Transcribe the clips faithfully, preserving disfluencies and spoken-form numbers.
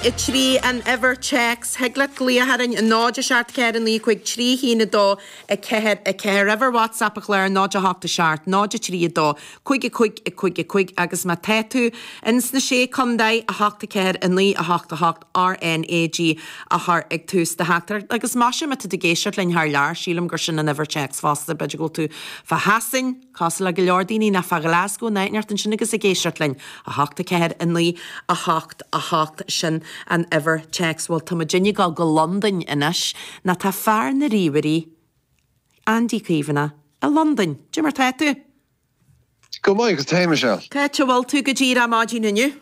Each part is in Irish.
cúig a trí an uimhir téacs. Thig leat glaoch orainn a náid a seacht ceathair a naoi cúig trí haon a dó a ceathair a ceathair. Uimhir WhatsApp an chláir náid a hocht a seacht náid a trí a dó cúig a cúig a cúig a cúig agus má tá tú ins na sé chontae a hocht a ceathair a naoi a hocht a hocht R N A G a chur ag tús do theachtaireacht. Agus más ea tá tú ag éisteacht linn thar lear, sílim gur sin an uimhir téacs fosta. B'fhéidir go bhfuil tú fá Shasain, cosúil le go leor daoine nó fá Ghlasgow nó áit ansin agus ag éisteacht linn a hocht a ceathair a naoi a hocht a hocht, sin an uimhir téacs. Bhuel, tá muid ag dul go Londain anois nó tá fear na ríomhairí Andy Caomhánach i Londain. Cad é mar tá tú? Go maith agus tú, Michelle. Cá bhfuil tú go díreach maidin inniu?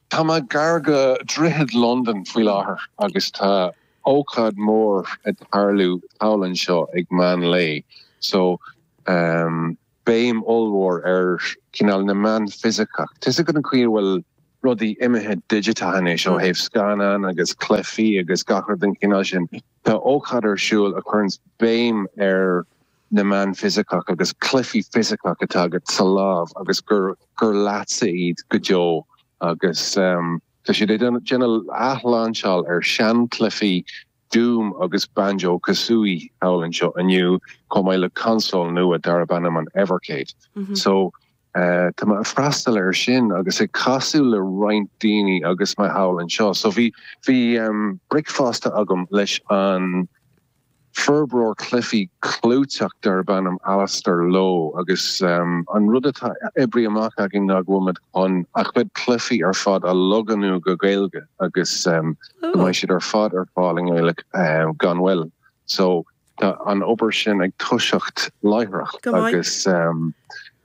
Tá mé gar go Droichead London faoi láthair agus tá ócáid mór ag tarlú thall anseo ag meán lae. So um, béim ollmhór ar cineál na meán fisiceach. Tá go an chaoi bhfuil rudaí imithe digiteach ó thaobh scannán agus cluichí agus gach rud den chineál sin. Tá ócáid ar siúl a chuireann béim ar na meán fisiceach agus cluichí fisiceach atá agat sa lámh agus gur gur leatsa iad go deo agus um, Tá siad ag déanamh athlainseáil ar seanchluichí Doom agus Banjo Kazooie thall anseo inniu chomh maith le console nua darb ainm an Evercade. Mm -hmm. So uh, tá mé ag freastal ar sin agus ag casadh le roinnt daoine agus mé thall anseo. So bhí bhí um, bricfeasta agam leis an forbróir cluichí clúiteach darb ainm Alistair Lowe agus um, an rud atá oibrithe amach againn ná go bhfuil an a chuid cluichí ar fad á logánú go Gaeilge agus um, oh. mbeidh siad ar fad ar fáil i nGaeilge um, gan mhoill. So tá an obair sin ag toiseacht láithreach agus um,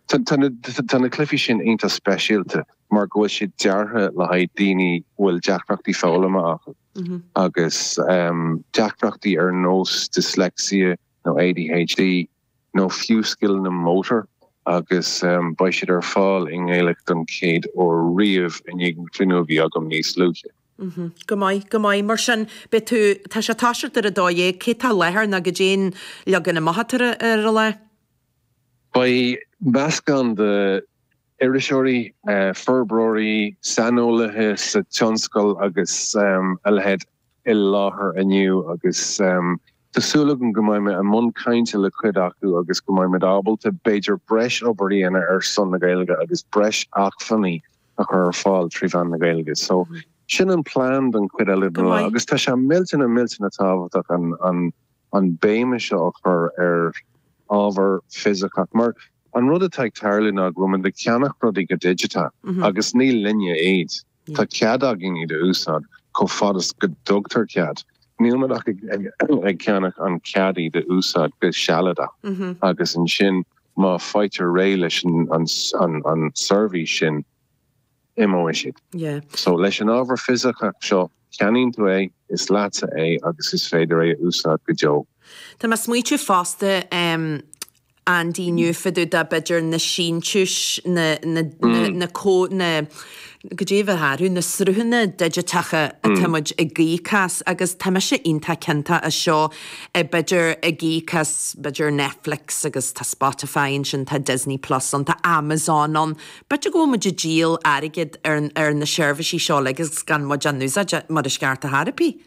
tá na cluichí sin iontach speisialta mar go bhfuil siad deartha le haghaidh daoine bhfuil deacrachtaí foghlama acu. Mm -hmm. agus um, deacrachtaí ar nós dyslexia nó A D H D nó fiú scileanna motor agus um, beidh siad ar fáil i nGaeilge don chéad uair riamh i ndiaidh an cruinniú a bhí agam níos luaithe. Mm -hmm. Go maith, go maith. Mar sin be tú tá sé toiseacht ar a dó dhéag, cé tá i láthair nó cad é an leagan amach ar an lá? Beidh meascán de iriseoirí, uh, forbróirí, saineolaithe sa tionscal agus um, a leithéid i láthair inniu agus um, Tá súil agam go mbeidh mé i mbun cainte le cuid acu agus go mbeidh muid ábalta b'fhéidir breis obair a dhéanamh ar son na Gaeilge agus breis acmhainní a chur ar fáil trí mheán na Gaeilge. So sin an plean don chuid eile lá agus tá sé millteanach millteanach tábhachtach an an an béim seo a chur ar ábhar fisiceach mar an rud atá ag tarlú ná go bhfuil ag ceannach rudaí go digiteach mm -hmm. agus ní linne iad. Mm. Tá cead againn iad a úsáid chomh fada is go dtugtar cead. Níl muid ach ag ceannach an cead iad a úsáid go sealadach mm -hmm. agus ansin má faightear réidh leis an, an, an, an seirbhís sin, imeoidh siad. Yeah. So leis an ábhar fisiceach seo ceannaíonn tú é, is leatsa é agus is féidir é a úsáid go deo. Tá mé ag smaointiú fosta um, Andy inniu fá dtaobh de b'fhéidir na síntiúis na na mm. na có na go dtí bheith acu na sruthanna digiteacha atá muid ag íoc as agus tá mise iontach cinnte as seo b'fhéidir ag íoc as b'fhéidir Netflix agus tá Spotify ansin, tá Disney Plus ann, tá Amazon ann. B'fhéidir go muid ag díol airgead ar, ar na seirbhísí seo agus gan muid á n-úsáid mar is ceart a tharapí.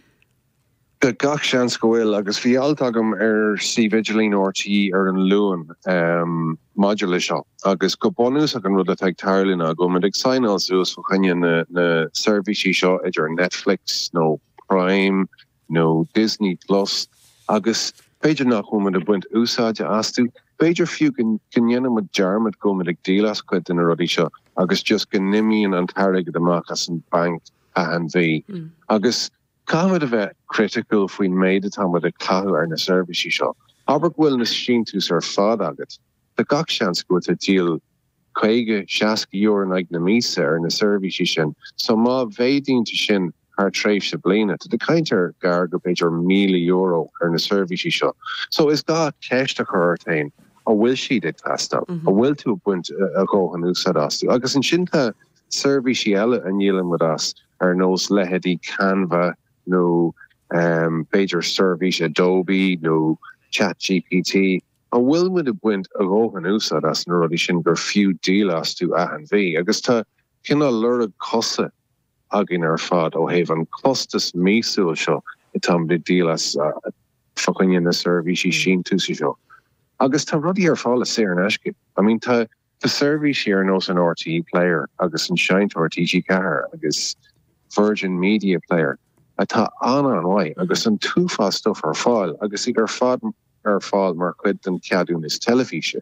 De gach seans go bhfuil agus bhí alt agam ar suíomh idirlín R T É ar an Luan um, maidir le seo agus go bunúsach an rud atá ag tarlú ná go bhfuil ag signáil suas fá choinne na, na seirbhísí seo idir Netflix nó Prime nó Disney Plus agus b'fhéidir nach bhfuil ag baint úsáide astu. B'fhéidir fiú go ndéanaimid dearmad go bhfuil ag díol as cuid de na rudaí seo agus just go n-imíonn an t-airgead amach as an banc achan mhí. Mm. Agus caithfimid a bheith criticiúil faoin méid atáimid ag caitheamh ar na seirbhísí seo. Abair go bhfuil na síntiúis ar fad agat, Tá gach seans go bhfuil díol caoga seasca euro in aghaidh na míosa ar na seirbhísí sin, so má mhéadaíonn tú sin thar tréimhse bliana, tá tú ag caint ar gar go b'fhéidir míle euro ar na seirbhísí seo. So is gá ceist a chur ort féin an bhfuil siad ag teastáil, mm -hmm. an bhfuil tú ag baint a dhóthain úsáid astu. Agus ansin tá seirbhísí eile a ndíolann muid as ar nós leithéidí Canva nó um, b'fhéidir seirbhís Adobe nó Chat G P T. An bhfuil muid ag baint a dhóthain úsáid as na rudaí sin gur fiú díol astu achan mhí, agus tá cineál lorg cosa againn ar fad ó thaobh an costas míosúil seo atá ag díol as fá choinne na seirbhísí síntiúis seo. Agus tá rudaí ar fáil saor in aisce. I mean tá tá seirbhísí ar nós an RTÉ Player agus an Seinnteoir TG Ceathair agus Virgin Media Player atá an-an-mhaith agus an t-uafás stuff ar fáil agus iad ar fad ar fáil mar chuid den ceadúnas teilifíse.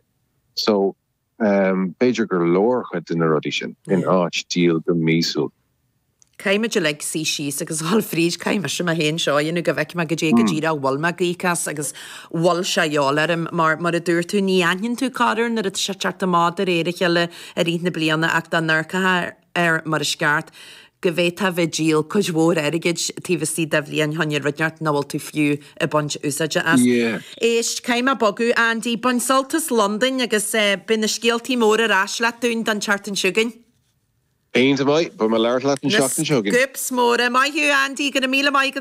So um, b'fhéidir gur leor chuid de na rudaí sin in áit díol go míosúil. Caithfimid uilig suí síos agus dhul fríd caithfidh mise mé féin seo dhéanamh go bhfeicfidh mé goidé go díreach bhfuil mé ag íoc as agus bhfuil sé dheol orm mar mar a dúirt tú ní aithníonn tú corruair nuair atá sé teacht amach de réir a chéile i rith na bliana ach dá n-amharcfá air mar is ceart go bhféadfá bheith ag díol cuid mhór airgid taobh istigh de bhliain fá choinne rud nach bhfuil tú fiú ag baint úsáide as. Yeah. Éist caithfidh mé bogadh Andy bain sult as Londain agus eh, beidh na scéaltaí móra ar ais leat dúinn don tseachtain seo chugainn. Aon maith, beidh mé ag labhairt leat an seachtain seo chugainn. Scoops móra maith thú Andy go raibh míle maith